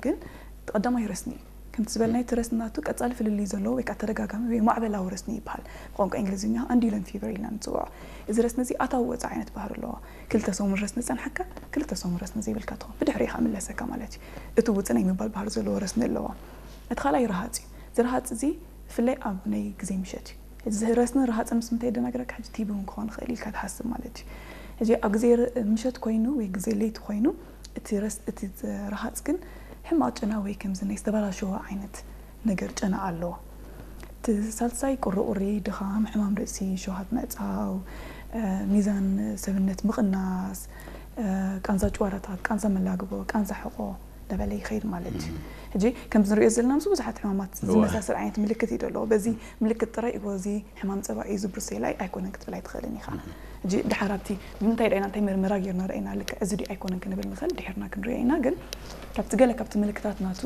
ግን ቀዳማይ ረስኒ እዩ። ከምቲ ዝበልናዮ እቲ ረስኒ ናቱ ቀጻሊ ፍልልይ ዘለዎ ወይ ከዓ ተደጋጋሚ ወይ ማዕበላዊ ረስኒ ይበሃል። ብቋንቋ እንግሊዝኛ ኣንዲለን ፊቨር ኢልና ንፅውዖ። እዚ ረስኒ እዚ ኣታዊ ወፃኢ ዓይነት ባህሪ ኣለዎ። ክልተ ሰሙን ረስኒ ጸንሓካ፣ ክልተ ሰሙን ረስኒ ዘይብልካ ትኾን። ብድሕሪኡ ከዓ ምለሰካ ማለት እዩ። እቲ ውፅእ ናይ ምባል ባህሪ ዘለዎ ረስኒ ኣለዎ። እቲ ካልኣይ ረሃፅ እዩ። እዚ ረሃፅ እዚ ብፍላይ ኣብ ናይ ግዜ ምሸት እዩ። እዚ ረስኒ ረሃፅን ምስ ምንታይ የደናግረካ? ሕጂ ቲቢ እውን ክኾን ይኽእል ኢልካ ትሓስብ ማለት እዩ። ሕጂ ኣብ ግዜ ር- ምሸት ኮይኑ ወይ ግዜ ለይቲ ኮይኑ እቲ ረስ እቲ ረሃፅ ግን ሕማቕ ጨና ወይ ከምዚ ናይ ዝተበላሸወ ዓይነት ነገር ጨና ኣለዎ። እቲ ሳልሳይ ቁሪቁሪ፣ ድኻም፣ ሕማም ርእሲ፣ ሸውሃት ምዕፃው፣ እ፣ ሚዛን ሰብነት ምቕናስ፣ እ፣ ቃንዛ ጭዋዳታት፣ ቃንዛ መላግቦ፣ ቃንዛ ሕቆ እንዳበለ ይኸይድ ማለት እዩ። ሕጂ ከምዚ ንሪኦ ዘለና ምስ ብዙሓት ሕማማት እወ። ዝመሳሰል ዓይነት ምልክት እዩ ዘለዎ። በዚ ምልክት ጥራይ እዎ እዚ ሕማም ጸባ እዩ ዝብርሶ ኢላ ኣይኮነን ክትብል ኣይትኽእልን ኢኻ። ሕጂ ድሓር ኣብቲ ብምንታይ ዳኢና እንታይ መርመራ ጌርና ዳኢና ልክዕ እዚ ድዩ ኣይኮነን ክንብል ንኽእል ድሒርና ክንሪኦ ኢና። ግን ካብቲ ገለ ካብቲ ምልክታት ናቱ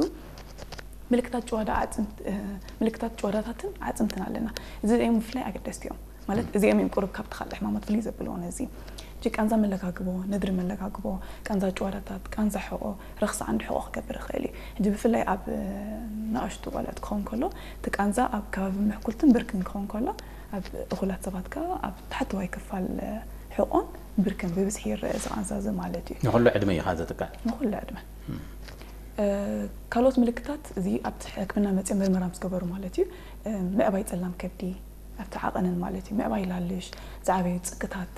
ምልክታት ጭዋዳ ኣዕጽምት እ፣ ምልክታት ጭዋዳታትን ኣዕጽምትን ኣለና። እዚ እዮም ብፍላይ ኣገደስቲ እዮም። ማለት እዚኦም እዮም ቁሩብ ካብቲ ካልእ ሕማማት ፍልይ ዘብልዎ ነዚ። ሕጂ ቃንዛ መለጋግቦ፣ ነድሪ መለጋግቦ፣ ቃንዛ ጭዋዳታት፣ ቃንዛ ሕቆ፣ ረኽሲ ዓንዲ ሕቆ ክገብር ይኽእል እዩ። ሕጂ ብፍላይ ኣብ እ፣ ንኣሽቱ ቆልዑት ክኸውን ከሎ እቲ ቃንዛ ኣብ ከባቢ ምሕኩልትን ብርክን ክኸውን ከሎ ኣብ እኹላት ሰባት ከኣ ኣብ ታሕተዋይ ክፋል እ፣ ሕቆን ብርክን ብብዝሒ ይረአ እዚ ቃንዛ እዚ ማለት እዩ። ንኹሉ ዕድመ እዩ ኸኣ ዘጥቅዕ? ንኹሉ ዕድመ። እ፣ ካልኦት ምልክታት እዚ ኣብቲ ሕክምና መፅኦም ምርመራ ምስ ገበሩ ማለት እዩ። እ፣ ምዕባይ ፀላም ከብዲ ኣብቲ ዓቐንን ማለት እዩ። ምዕባይ ላልሽ፣ ዝዓበዩ ፅቅታት፣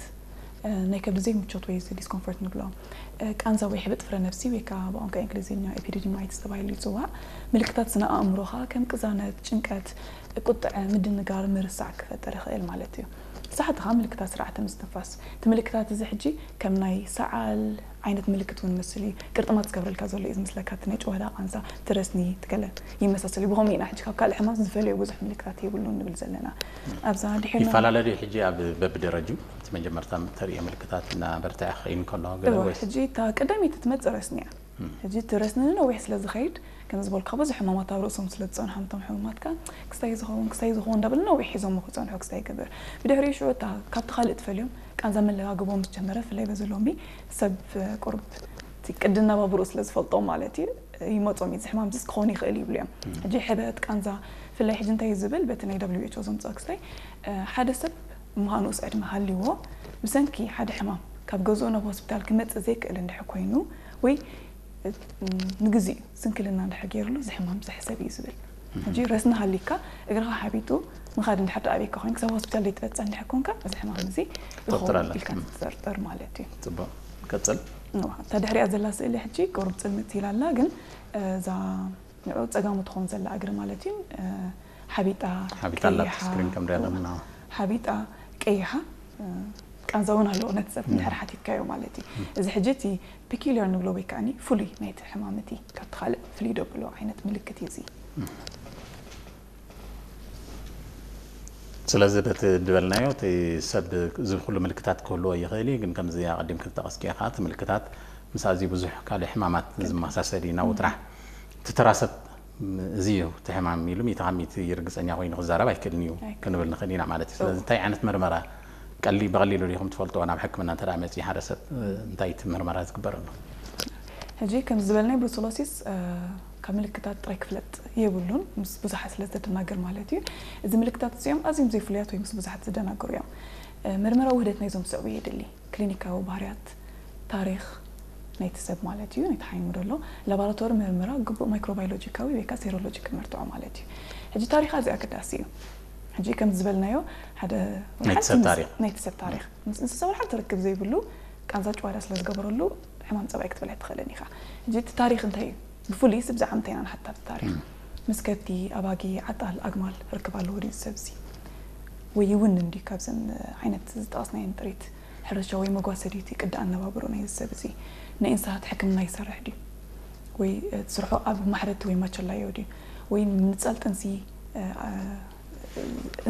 እ፣ ናይ ከብዲ ዘይምቾት ወይ እዚ ዲስኮምፎርት ንብሎ፣ እ፣ ቃንዛ ወይ ሕብጥ ፍረ ነብሲ ወይ ከዓ ብቋንቋ እንግሊዝኛ ኤፒዲዲማይትስ ተባሂሉ ይፅዋዕ። ምልክታት ስነ ኣእምሮ ከዓ ከም ቅዛነት፣ ጭንቀት፣ ቁጥዐ፣ ምድንጋር፣ ምርሳዕ ክፈጥር ይኽእል ማለት እዩ። ሳሕቲ ከዓ ምልክታት ስርዓተ ምስትንፋስ። እቲ ምልክታት እዚ ሕጂ ከም ናይ ሰዓል ዓይነት ምልክት እውን መስል እዩ። ቅርጥማት ዝገብረልካ ዘሎ እዩ ዝመስለካ እቲ ናይ ጭዋዳ ቃንዛ፣ እቲ ረስኒ፣ እቲ ገለ ይመሳሰል እዩ። ብኸምኡ ኢና ሕጂ ካብ ካልእ ሕማም ዝፈልዮ ብዙሕ ምልክታት የብሉን ንብል ዘለና። ኣብዛ ድሒርና ይፈላለ ድዩ ሕጂ ኣብ በብደረጅኡ? እቲ መጀመርታ ተርእዮ ምልክታት እናበርትዐ ክኸይድ እንከሎ ገለ እወ፣ ወይስ? ሕጂ እታ ቀዳመይቲ ትመጽእ ረስኒ እያ። ሕጂ እቲ ረስኒ ንነዊሕ ስለ ዝኸይድ፣ ከም ዝበልካ ብዙሕ ሕማማት ኣብ ርእሶም ስለ ዝጸንሖም እቶም ሕሙማትካ፣ ክስታይ ዝኸውን፣ ክስታይ ዝኸውን እንዳበሉ ነዊሕ ሒዞሞ ክጸንሑ ክስታይ ይገብር። ብድሕሪኡ ሽዑ እታ ካብቲ ካልእ ትፈልዮም ቃንዛ መለጋግቦ ምስ ጀመረ፣ ብፍላይ በዚ ሎሚ ሰብ ቁሩብ እቲ ቅዲ ኣነባብርኡ ስለ ዝፈልጦ ማለት እዩ፣ ይመጾም እዩ፣ እዚ ሕማም እዚስ ክኸውን ይኽእል ይብሉ እዮም። ሕጂ ሕበጥ፣ ቃንዛ፣ ብፍላይ ሕጂ እንታይ እዩ ዝብል፣ በቲ ናይ ደብሊው ኤች ኦ ዘምጽኦ ክስታይ፣ እ፣ ሓደ ሰብ እሞ ንኡስ ዕድመ ሃልይዎ ብሰንኪ ሓደ ሕማም ካብ ገዝኡ ናብ ሆስፒታል ክመጽእ ዘይክእል እንድሕር ኮይኑ ወይ፣ እ፣ ንግዚኡ ስንክልና እንድሕር ገይሩሉ እዚ ሕማም ዝሕሰብ እዩ ዝብል። ሕጂ ረስኒ ሃሊካ እግርኻ ሓቢጡ ምኻድ እንድሕር ደኣ ኣበይካ ኮይንካ ክሳብ ሆስፒታል ዘይትበጽሕ እንድሕር ኮንካ እዚ ሕማም እዚ ይኸውን ክትጠርጥር ኣለካ። ኢልካ ትጠርጥር ማለት እዩ። ጽቡቕ። ቀጽል። እዋ፣ እታ ድሕሪኣ ዘላ ስእሊ ሕጂ ቁሩብ ጽልምት ኢላ ኣላ፣ ግን፣ እ፣ እዛ ንዑ ጸጋሙ ትኸውን ዘላ እግሪ ማለት እዩ። እ፣ ሓቢጣ ሓቢጣ ኣላ ቀይሓ፣ ስክሪን ከም ሪኣ እዋ፣ ኣለና። ሓቢጣ ቀይሓ፣ እ፣ ቃንዛ እውን ኣለዎ ነቲ ሰብ እንድሕር ሓቲትካዮ ማለት እዩ። እዚ ሕጂ እቲ ፒኪሊየር ንብሎ ወይ ከዓኒ ፍሉይ ናይቲ ሕማም እቲ ካብቲ ካልእ ፍልይ ደብሎ ዓይነት ምልክት እዩ እዚ። ስለዚ በቲ ዝበልናዮ እቲ ሰብ እዚ ኩሉ ምልክታት ክህልዎ ይኽእል እዩ፣ ግን ከምዚ ኣቐዲም ክትጠቐስኪ ኢኻ እቲ ምልክታት ምስ ኣዝዩ ብዙሕ ካልእ ሕማማት ዝመሳሰል እዩ ናብኡ ጥራሕ። እቲ ተራ ሰብ እዚ እዩ እቲ ሕማም ኢሉ ሚእቲ ካብ ሚእቲ ርግጸኛ ኮይኑ ክዛረብ ኣይክእልን እዩ ኣይክእልን። ክንብል ንኽእል ኢና ማለት እዩ። ስለዚ እንታይ ዓይነት መርመራ ቀሊ-፣ ብቐሊሉ ዲኹም ትፈልጥዎ ናብ ሕክምና እንተ ደኣ መጺኡ ሓደ ሰብ እንታይ እቲ መርመራ ዝግበረሉ? ሕጂ ከም ዝበልናይ ብሩሰሎሲስ፣ እ፣ ካብ ምልክታት ጥራይ ክፍለጥ የብሉን፣ ምስ ብዙሓት ስለ ዘደናግር ማለት እዩ። እዚ ምልክታት እዚኦም ኣዝዮም ዘይፍሉያት ወይ ምስ ብዙሓት ዝደናግሩ እዮም። እ፣ መርመራ ውህደት ናይዞም ዝስዕቡ የድሊ። ክሊኒካዊ ባህርያት፣ ታሪኽ ናይቲ ሰብ ማለት እዩ፣ ናይቲ ሓይሙ ዘሎ፣ ላቦራቶሪ ምርመራ፣ ግቡእ ማይክሮባዮሎጂካዊ ወይ ከኣ ሴሮሎጂ ክመርትዖ ማለት እዩ። ሕጂ ታሪኽ ኣዝዩ ኣገዳሲ እዩ። ሕጂ ከም ዝበልናዮ ሓደ ናይቲ ሰብ ታሪኽ። ናይቲ ሰብ ታሪኽ። ምስ እንስሳ ወላ ሓንቲ ርክብ ዘይብሉ ቃንዛ ጭዋዳ ስለ ዝገበረሉ ሕማም ጸባይ ክትብል ኣይትኽእልን ኢኻ። ሕጂ እቲ ታሪኽ እንታይ እዩ? ብፍሉይ ብዛዕባ ምንታይ ኢና ንሓታ ኣብቲ ታሪኽ? ምስ ከብቲ፣ ኣባጊ፣ ዓጣል፣ ኣግማል ርክብ ኣለዎ ድዩ እዚ ሰብ እዚ? ወይ ይውንን ድዩ ካብዘን ዓይነት ዝጠቐስናየን ጥሪት ሕርሻ ወይ መጓሰ ድዩ እቲ ቅዲ ኣነባብሮ ናይዚ ሰብ እዚ? ናይ እንስሳት ሕክምና ይሰርሕ ድዩ? ወይ፣ እ፣ ስርሑ ኣብ ማሕረድቲ ወይ ማቸላዮ ድዩ? ወይ ምንጻል ጥንሲ፣ እ፣ እ፣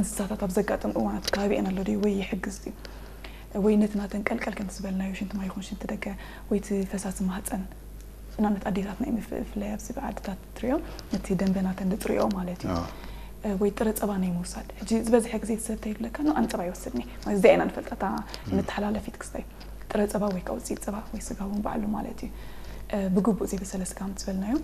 እንስሳታት ኣብ ዘጋጥም እዋን ኣብቲ ከባቢኤን ኣሎ ድዩ? ወይ ይሕግዝ ድዩ? ወይ ነቲ ናተን ቀልቀል ከምቲ ዝበልናዮ ሽንቲ ማይ ይኹን ሽንቲ ደገ ወይ እቲ ፈሳሲ ማህጸን ንኣብነት ኣዴታትና እዮም ብፍ-፣ ብፍላይ ኣብዚ ብዓድታት ትሪኦ ነቲ ደንበ ናተን ዝፅርዮ ማለት እዩ። ኣዎ። እ፣ ወይ ጥረ ፀባ ናይ ምውሳድ። ሕጂ ዝበዝሐ ግዜ እቲ ሰብ እንታይ ይብለካ? ኖ፣ ኣነ ፀባ ይወስድኒ። ማለት እዚኣ ኢና ንፈልጣ፣ እታ መተሓላለፊት ክስታይ። ጥረ ፀባ ወይ ከዓ ውፅኢት ፀባ ወይ ስጋ እውን ባዕሉ ማለት እዩ። እ፣ ብግቡእ ዘይበሰለ ስጋ ምስ በልናዮ፣